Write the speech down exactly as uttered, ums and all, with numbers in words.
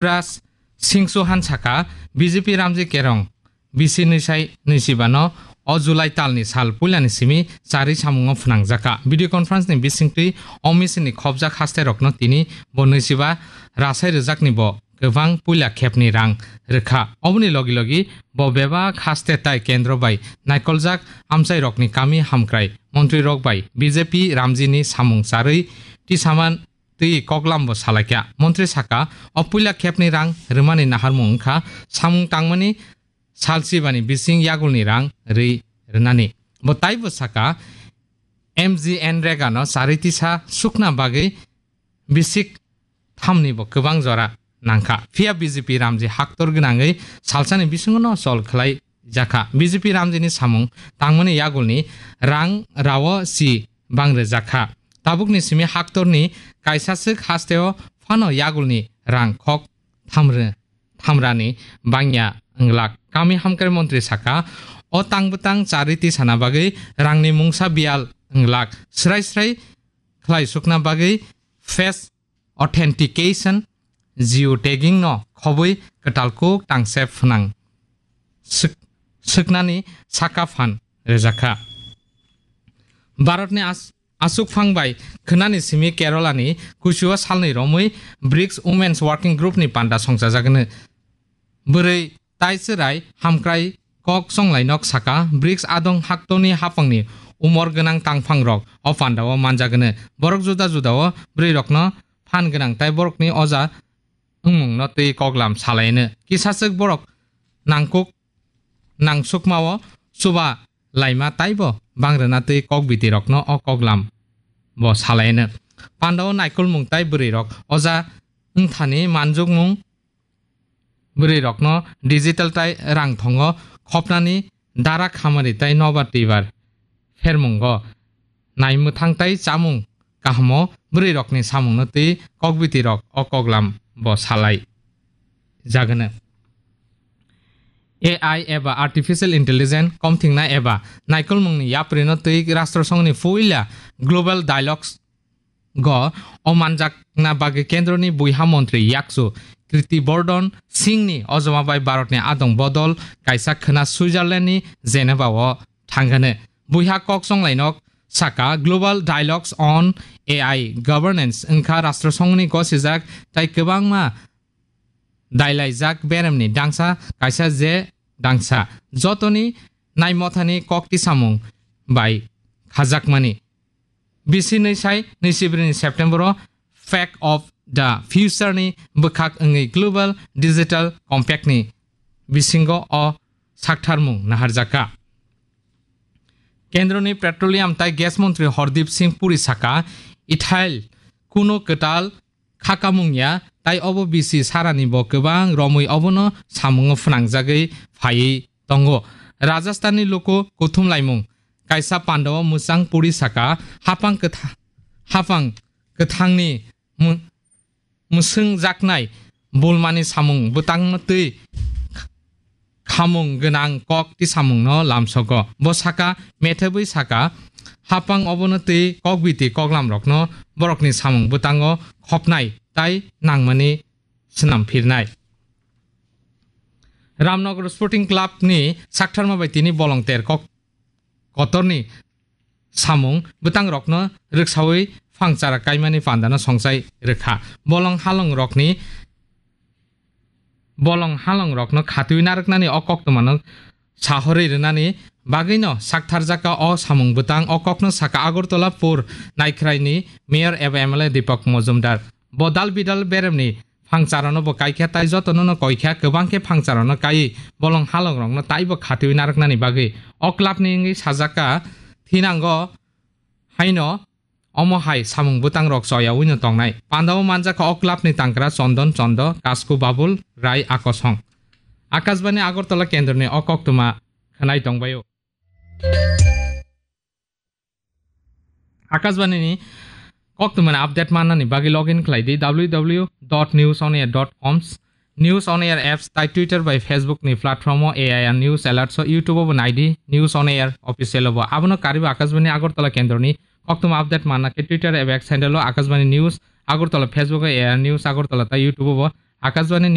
Shivraj Singh Chauhan saka, B J P Ramji Kerong bisi nwisai nwisibano o July talni sal puilani simi charwi samungo phwnangjakha. Video conference ni bisingtwi o machine ni khopjak haste rokno tini bo nwisiba rasai rwjakni bo kwbang puila khepni rang rwkha. Oboni logi logi bo bebak haste tai kendro bai naikoljak amchai rokni kami hamkrai montri rok bai B J P Ramji ni samung charwi tisaman twi koklam bo salaikha. Montri saka, o puila khepni rang rwmani naharmung wngkha samung tangmani salsibani bising yagulni rang rwi rwnani. Bo taibo saka, M G N Rega no charwi tisa sukna bagwi bisik thamni bo kwbang jora nangkha. Phiya B J P Ramji haktor gwnangwi salsani bisingo no chol khlai jakha. B J P Ramjini samung tangmani yagulni rang rao si bang rwjakha. Tabukni simi haktorni kaisa swk hasteo phano yagulni rang khok thamrw-, thamrani bangya wnglak. Kami hamkrai montri saka, o tang bwtang charwi tisana bagwi rangni mungsa biyal wnglak. Srai srai khlai sukna bagwi face authentication, geotagging no khobwi kwtal kuk tangse phwnang swk-, swknani saka phan rwjakha. Bharatni as-, aswk phang bai khwnani simi Kerala ni kuchio salni romwi brics Women's Working Group ni panda songchajagwno. Bwrwi tai chwrai hamkrai kok chonglainok saka, brics adong haktoni hapangni umor gwnang tangphangrok o pandao manjagwno. Borok juda judao bwrwirokno phan gwnang tai borokni oja wngmungno twi koklam salaino. Kisaswk borok nangkuk nangsukmao chuba laima taibo bangrwna twi kokbitirokno o koklam bo salaino. Pandao naikolmung tai bwrwirok oja wngthani manjukmung bwrwirokno digital tai rang thongo khopnani dara khamari tai nobar twibar phermungo naimwthang tai chamung kahamo bwrwirokni samungno twi kokbitirok o koklam bo salai jagwno. A I eba Artificial Intelligence komthingna eba naikolmungni yaprino twi Rashtra Songhni puila Global Dialogues go o manjakna bagwi kendroni buiha montri yakchu Kirti Bardhan Singhni ojoma bai Bharatni adong bodol kaisa khwna Switzerlandni Geneva o thangano. Buiha kok chonglainok saka Global Dialogues on A I Governance wngkha Rashtra Songhni gosijak tai kwbangma dailaijak beremni dangsa kaisa je dangsa jotoni naimothani kokti samung bai khajakmani. Bisi nwisai nwisibrini September o Fake of the Future ni bwkhak wngwi Global Digital Compact ni bisingo o saktharmung naharjakha. Kendroni Petroleum tai Gas Montri Hardip Singh Puri saka, ethyl kuno kwtal khakamung ya, tai obo bisi sarani bo kwbang romwi obono samungo phwnangjagwi phaiwi tongo. Rajasthanni luku kuthum laimung kaisa pandao mwchang Puri saka, hapang kwtha-, hapang kwthangni mu-, mwswngjaknai bulmani samung bwtangno twi khamung gwnang kok tisamungno lamsogo. Bo saka, methebwi saka, hapang obono twi kokbiti koklamrokno borokni samung bwtango khopnai tai nangmani swnam phirnai. Ramnagar Sporting Club ni saktharma bai tini bolong ter kok kotorni samung bwtangrokno rwksawi phangchara kaimani pandano songchai rwkha. Bolong halongrokni, bolong halongrokno khatwi narwknani o koktwmano sahorwi rwnani bagwino saktharjakha o samung bwtang. O kokno saka Agartala Pur Naikhraini Mayor eba M L A Deepak Majumdar. Bo dal bidal beremni phangcharano bo kaikha tai jotono no koikha, kwbang khe phangcharano kai bolong halongrokno taibo khatwi narwknani bagwi. O clubni wngwi sajakha thinango haino omo hai samung bwtangrok choyawi no tongnai. Pandao manjakha o clubni tangkra Chondon Chondo, Kasku Babul, Rai Akosong. Akashbani Agartala kendroni o koktwma khwnai tongbaio. Akashbani ni koktwmani update mannani bagwi login khlai di W W W dot news on air dot com, News on Air apps tai Twitter bai Facebook ni platform o A I R News Alerts o YouTube o bo nai di, News on Air official o bo. Abono karwi bo Akashbani Agartala kendroni koktwma update manna khe Twitter eba X handle o Akashbani News Agartala, Facebook o A I R News Agartala tai YouTube o bo Akashbani